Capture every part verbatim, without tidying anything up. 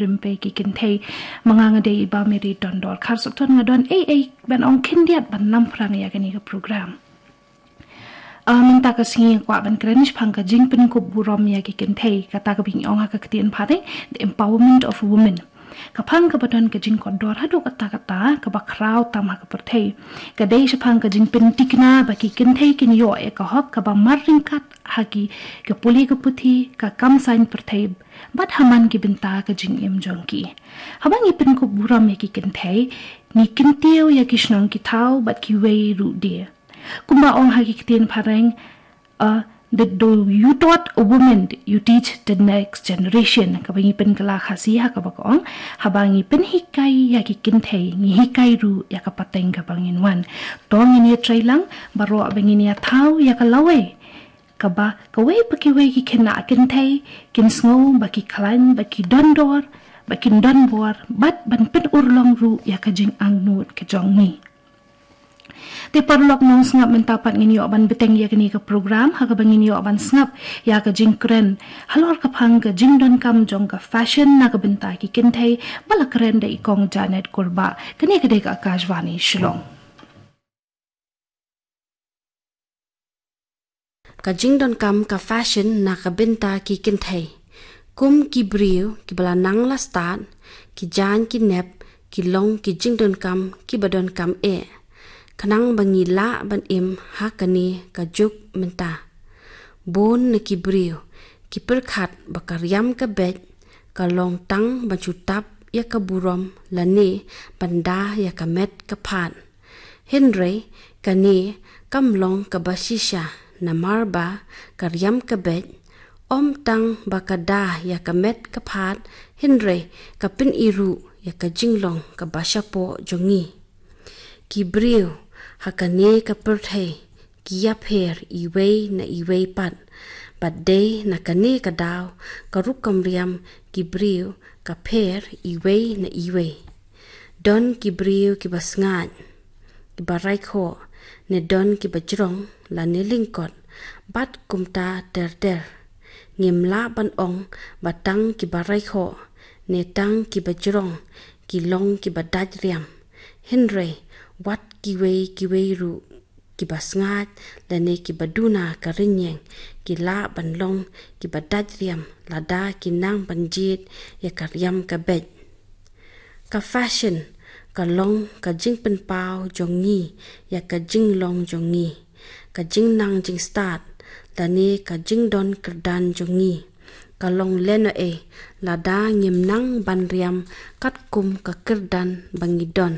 Rympei ki kynthei. Ma nga nga dei i Bah Mary Dondor Kharsopton, nga don ei ei ban ong khyndiat ban lam phrang ïa kane ka program. Ah, mynta ka sngi nga kwah ban kren shaphang ka jingpynkup burom ïa ki kynthei, kata kaba ngi ong ha ka ktien phareng, the empowerment of women. Ka phang kaba don ka jingkordor haduh katta katta, kaba khraw tam ha ka pyrthei. Ka dei shaphang ka jingpyntikna ba ki kynthei kin ïoh ïa ka hok kaba mar ryngkat ha ki, ka pule ka puthi, ka kam saiñ pyrthei, bad ha man ki bynta ka jingim jong ki. Haba ngi pynkup burom ïa ki kynthei, ngi kyntiew ïa ki shnong ki thaw bad kiwei ruh de. Kumba ong ha ki ktien phareng, uh, the, the, you taught a woman, you teach the next generation. Kaba ngi pynkylla Khasi ha kaba ka ong, haba ngi pynhikai ïa ki kynthei, ngi hikai ruh ïa ka pateng kaba ngin wan. To ngin ïa trei lang baroh ba ngin ïa thaw ïa ka lawei, kaba kawei pa kiwei ki khynnah kynthei kin sngew ba ki khlaiñ, ba ki dondor, ba kin donbor, bad ban pynurlong ruh ïa ka jingangnud ka jong ngi. Te paralok nongsngap, mynta pat ngin ïoh ban bteng ïa kane ka program, ha kaba ngin ïoh ban sngap ïa ka jingkren halor ka phang ka jingdonkam jong ka fashion na ka bynta ki kynthei, ba la kren da i Kong Janet Kurbah. Kane ka dei ka Akashvani Shillong. Ka jingdonkam ka fashion na ka bynta ki kynthei. Kum ki briew kiba la nang la stad, ki jaiñ ki nep ki long ki jingdonkam kiba donkam eh, khnang ba ngi lah ban im ha kane ka juk mynta. Bun na ki briew ki pyrkhat ba ka riam ka beit ka long tang ban shu tap ïa ka burom lane ban da ïa ka met ka phad. Hynrei kane kam long kaba shisha, namar ba ka riam ka beit ym tang ba ka da ïa ka met ka phad, hynrei ka pyni ruh ïa ka jinglong kaba shapoh jong ngi. Ki briew ha kane ka pyrthei ki ïapher iwei na iwei pat. Bad dei na kane ka daw ka rukom riam ki briew ka pher iwei na iwei. Don ki briew kiba sngaid, kiba raikhoh, ne don kiba jrong lane lyngkot, bad kumta ter ter. Ngim lah ban ong ba tang kiba raikhoh ne tang kiba jrong ki long kiba dait riam. Hynrei wat kiwei kiwei ruh, kiba sngaid lane kiba duna ka rynïeng, ki lah ban long kiba dait riam lada ki nang ban jied ïa ka riam ka beit. Ka fashion ka long ka jingpynpaw jong ngi ïa ka jinglong jong ngi, ka jingnang jingstad lane ka jingdon kyrdan jong ngi. Ka long lehnohei lada ngim nang ban riam katkum ka kyrdan ba ngi don.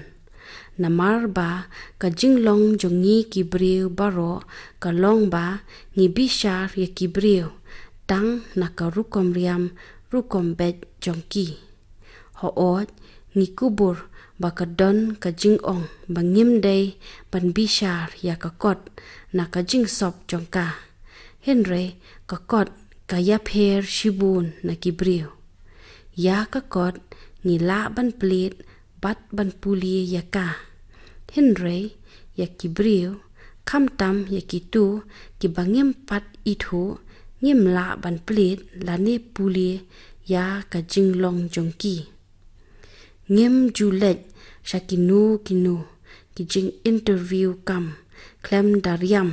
Namar ba ka jinglong jong ngi ki briew baroh ka long ba ngi bishar ïa ki briew tang na ka rukom riam rukom beit jong ki. Hooid, ngi kubur ba ka don ka jingong ba ngim dei ban bishar ïa ka kot na ka jingsop jong ka. Hynrei ka kot ka ïapher shibun na ki briew. Ïa ka kot ngi lah ban plied bad ban pule ïa ka. Hynrei ïa ki briew, khamtam ïa kito kiba ngim pat ithuh, ngim lah ban plied lane pule ïa ka jinglong jong ki. Ngim ju leit sha kino kino ki jing interview kam khlem da riam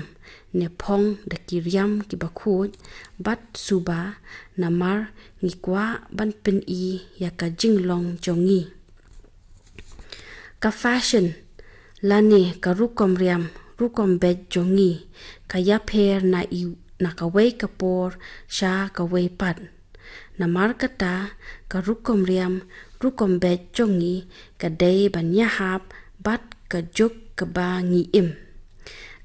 ne phong da ki riam kiba khuid bad suba, namar ngi kwah ban pyni ïa ka jinglong jong ngi. Ka fashion lane ka rukom riam rukom beit jong ngi ka ïapher na i, na kawei ka por sha kawei pat. Namar kata ka rukom riam rukom beit jong ngi ka dei ban ïahap bad ka juk kaba ngi im.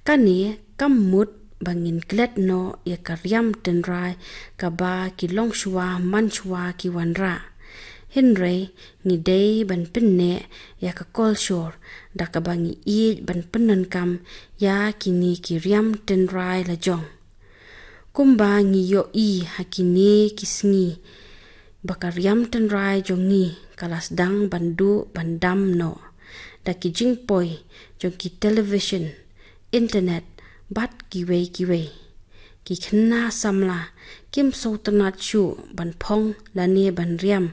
Kane kam mut ba ngin klet noh ïa ka riam tynrai kaba ki longshuwa manshuwa ki wanrah. Hynrei ngi dei ban pynneh ïa ka kolshor da kaba ngi ïeit ban pyndonkam ïa kine ki riam tynrai lajong. Kumba ngi ïohi ha kine ki sngi ba ka riam tynrai jong ngi ka la sdang ban duh ban dam noh da ki jingpoi jong ki television, internet bad kiwei kiwei. Ki khynnah samla kim sngewtynnad shuh ban phong lane ban riam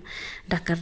da ka